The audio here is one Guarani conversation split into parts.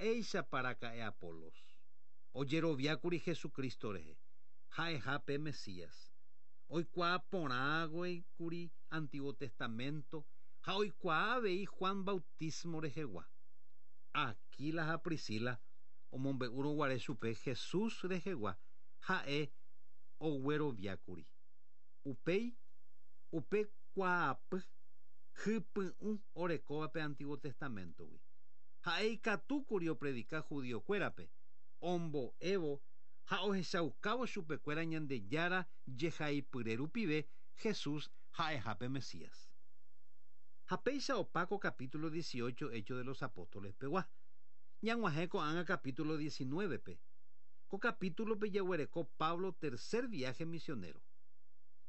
Mba'éichapa raka'e Apolos? Ojeroviákuri Jesucristo rehe, ha'eha pe Mesías. Oikuaa porãguikuri Antiguo Testamento ha oikuaa avei Juan bautismo rehegua. Aquila ha Priscila omombe'úrõ guare chupe Jesús rehegua ha'e ogueroviákuri. Upéi, upe kuaapy hypy'ũ orekóva pe Antiguo Testamento-gui. Ha'e ikatúkuri opredika judío-kuérape, ombo'évo ha ohechaukávo chupekuéra Ñandejára jehaipyre rupive Jesús ha'eha pe Mesías. Ha péicha opa ko capítulo 18 Hechos de los Apóstoles pegua. Ñag̃uahẽ ko'ág̃a capítulo 19-pe. Ko capítulo-pe jaguereko Pablo tercer viaje misionero.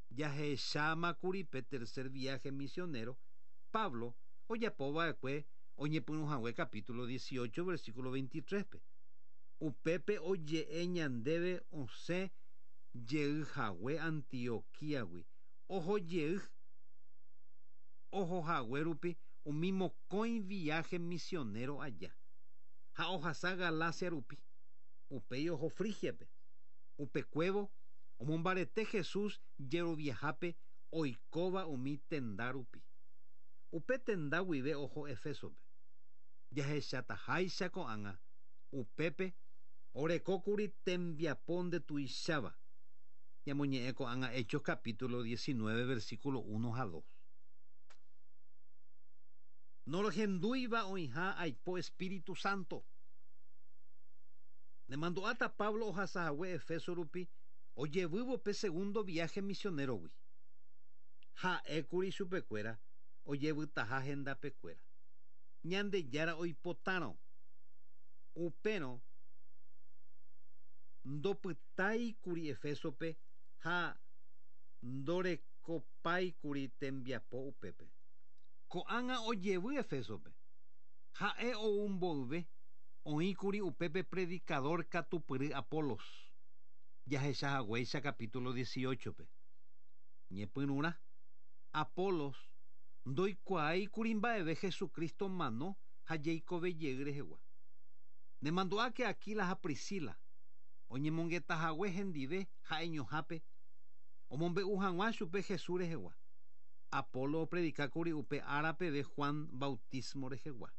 Jahechámakuri pe tercer viaje misionero Pablo ojapova'ekue oñepyrũhague capítulo 18 versículo 23-pe. Upépe oje'e ñandéve osẽ jeyhague Antioquíagui oho jey ohohague rupi umi mokõi viaje misionero aja ha ohasa Galacia rupi. Upéi oho Frigiape. Upekuévo omombarete Jesús jeroviahápe oikóva umi tenda rupi. Upe tenda guive oho Efesope. Jahechataháicha ko'ág̃a upépe orekókuri tembiapo ndetuicháva. Ñamoñe'ẽ ko'ág̃a Hechos capítulo 19 versículo 1 ha 2. Norohendúiva oĩha aipo Espíritu Santo. Nemandu'áta Pablo ohasahague Efeso rupi ojevývo pe segundo viaje misionero-gui. Ha'ékuri chupekuéra ojevytaha hendapekuéra. Ñandejára oipotárõ. Upérõ ndopytáikuri Efesope ha ndorekopáikuri tembiapo upépe. Ko'ág̃a ojevy Efesope. Ha'e ou mboyve oĩkuri upépe predicador katupyry Apolos. Jahechahaguéicha capítulo 18-pe. Ñepyrũrã, Apolos ndoikuaáikuri mba'eve Jesucristo mano ha jeikovejey rehegua. Nemandu'áke Aquila ha Priscila oñemongetahague hendive ha'eñohápe omombe'u hag̃ua chupe Jesús rehegua. Apolo opredikákuri upe ára peve Juan bautismo rehegua.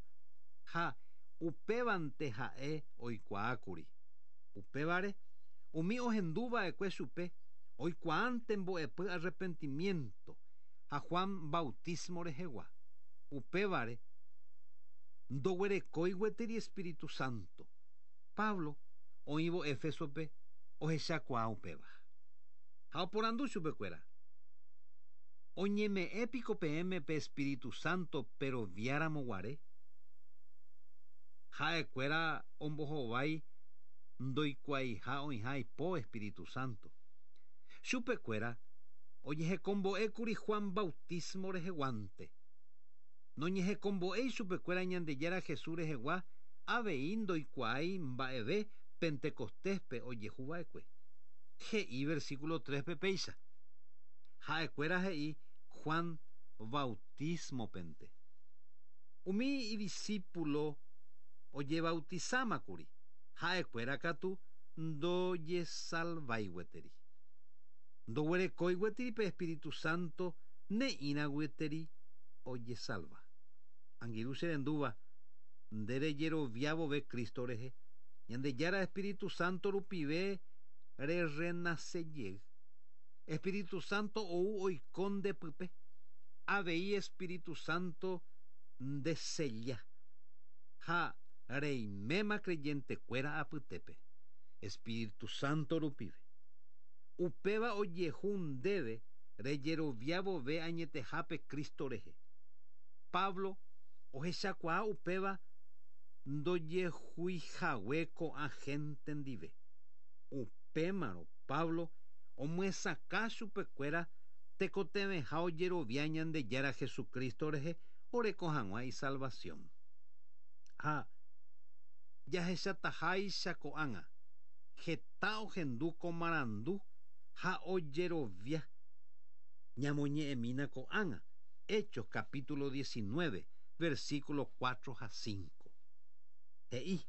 Ha upévante ha'e oikuaákuri. Upévare, umi ohenduva'ekue chupe oikuaánte mbo'epy arrepentimiento ha Juan bautismo rehegua. Upévare, ndoguerekói gueteri Espíritu Santo. Pablo oĩvo Éfesope ohechakuaa upéva. Ha oporandu chupekuéra. Oñeme'ẽ piko peẽme pe Espíritu Santo peroviáramo guare? Ha'ekuéra ombohovái ndoikuaaiha oĩha aipo Espíritu Santo. Chupekuéra ojehekombo'ékuri Juan bautismo reheguánte. Noñehekombo'éi chupekuéra Ñandejára Jesús rehegua avei ndoikuaái mba'eve Pentecostéspe ojehuva'ekue. He'i versículo 3-pe péicha. Ha'ekuéra he'i Juan bautismopente. Umi idiscípulo ojebautizámakuri, ha'ekuéra katu ndojesalvái gueteri. Ndoguerekói gueteri pe Espíritu Santo ne'ĩra gueteri ojesalva. Angirũ che rendúva, nde rejerovia vove Cristo rehe, Ñandejára Espíritu Santo rupive rerenace jey. Espíritu Santo ou oiko ndepype. Avei Espíritu Santo ndesella. Ha reiméma creyentekuéra apytépe. Espíritu Santo rupive. Upéva ojehu ndéve rejerovia vove añetehápe Cristo rehe. Pablo ohechakuaa upéva ndojehuihague ko'ã gente ndive. Upémarõ Pablo omyesakã chupekuéra tekotevẽha ojerovia Ñandejára Jesucristo rehe oreko hag̃ua isalvación. Ha jahechataháicha ko'ág̃a, heta ohendu ko marandu ha ojerovia. Ñamoñe'ẽmína ko'ág̃a, Hechos capítulo 19, versículo 4 ha 5. He'i.